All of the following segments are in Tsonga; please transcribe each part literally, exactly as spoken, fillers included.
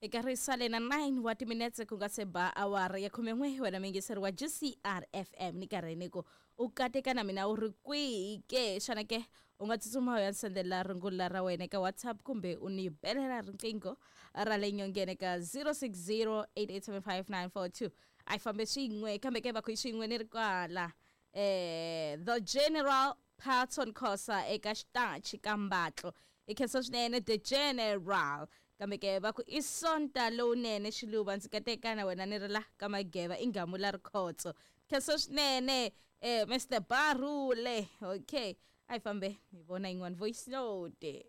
Eka ri sale na nine wa timinetse ku nga se ba awara ya khumen'we, wena muyingiseri wa G C R F M, ni karhi ni ku u kateka na mina u ri kwihi ke? Xana ke u nga tsutsuma u ya sendela rungula ra wena eka WhatsApp kumbe u ni belela riqingho ra le nyongeni ka zero six zero eight eight seven five nine four two. A yi fambe swin'we, kambe ke va ku swin'we ni ri kwala eh the General Patson Khosa eka xitachi ka Mbatlo. I khensa swinene, the General. Kambe ke va ku i Sonta lowunene, Xiluva, ndzi kateka na wena ni ri la ka Mageva, i Ngamula Rikhotso. Khensa swinene, eh Mister Barule. Okay, a hi fambe hi vona yin'wana voice note.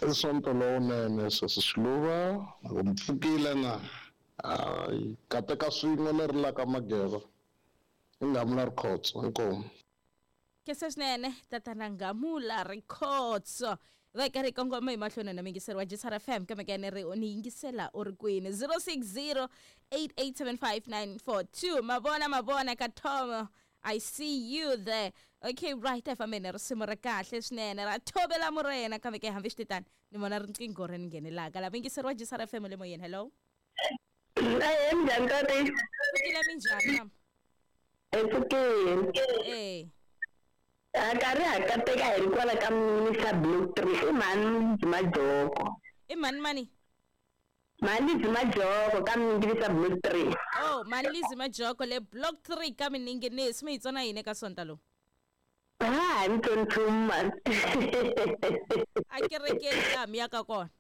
I Sonto lowunene, sesi Xiluva, loko mi pfukile na hayi, kateka swin'we ni ri la ka Mageva, i Ngamula Rikhotso. Inkomu. Khensa swinene, tatana Ngamula Rikhotso. Va hi karhi hi kongoma hi mahlweni na muyingiseri wa G C R F M, kambe ke ni ri ni yingisela u ri kwini? zero six zero eight eight seven five nine four two. Mavona, mavona ka Tom, I see you there. Okay, right, a hi fambeni risimu ra kahle swinene ra Thobela Morena. Kambe ke hambi swi titani, ni vona riqingho ri ni nghenelaka la. Muyingiseri wa G C R F M le moyeni, hello. Ehe, minjhani tati? Pfukile, minjhani mama? Hi pfukile. Eh. A karhi ha kateka hi ri kwala ka Mister Block three, i mhani Majoko. I mani mani? Mhani Majoko ka Mingilisa Block three. Oh, Malizi Majoko le Block three ka Mininginisi. Mi hi tsona yini eka Sonta lowu? Ha ni tsoni nchumu mani. A kerekeni laha mi yaka kona?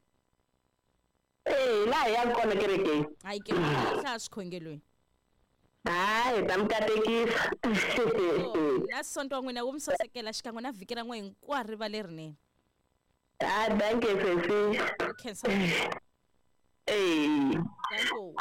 Eh, laha hi yaka kona kerekeni. Hayi ke, hlaya swikhongelweni. Hayi, hi ta mi katekisa. Oh, na Sonto wa n'wina wu mi sasekela xikan'we na vhiki ra n'we hinkwaro ri va lerinene. Ah, dankie sesi. Khensa. Eh. Danko.